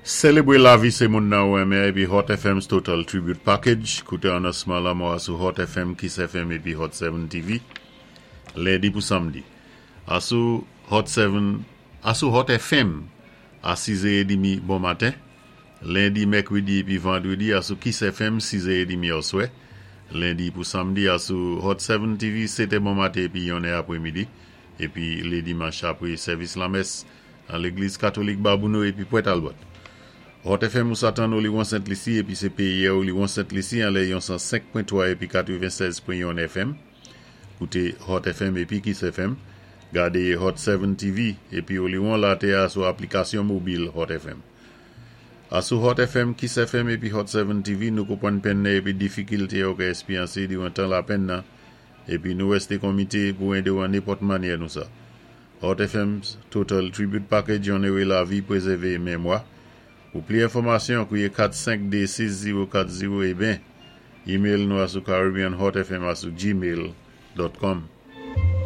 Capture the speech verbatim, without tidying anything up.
Sélébwé lavi sé moun-nan ou enmen épi Hot F M's Total Tribute Package. Kouté anonsman lanmò asou Hot F M, Kiss F M épi Hot sept T V. Lendi pou samdi. Asou Hot sept, asou Hot F M a sis è trant bon maten. Lendi, mèkwédi épi vandwédi asou Kiss F M sis è trant oswè. Lendi pou samdi asou Hot sept T V sèt è bon maten épi yon è apwémidi. Épi lé dimanch apwé sèvis lamès an légliz katolik Babonneau épi Port Albert. Hot F M ou sa tann Oliwon Sent Lisi épi sé péyi Oliwon Sent Lisi an lè yon san senk pwen twa épi katwennsèz pwen yon F M. Kouté Hot F M épi Kiss F M. Gadé Hot sept T V épi Oliwon latè a sou aplikasyon mobil Hot F M. Asou Hot F M, Kiss F M épi Hot sept T V, nou konpwann penn-nan épi difikilté ou ka èspéryansé diwan tan lapenn-nan épi nou wèsté komité pou édé-ou an nenpòt mannyè nou sa. Hot F M's Total Tribute Package onoré lavi, pwézèvé mémwa. Pou pli enfòmasyon, kwié kat senk de sis zewo kat zewo é ben email nou asou caribbeanhotfm asou gmail dot com.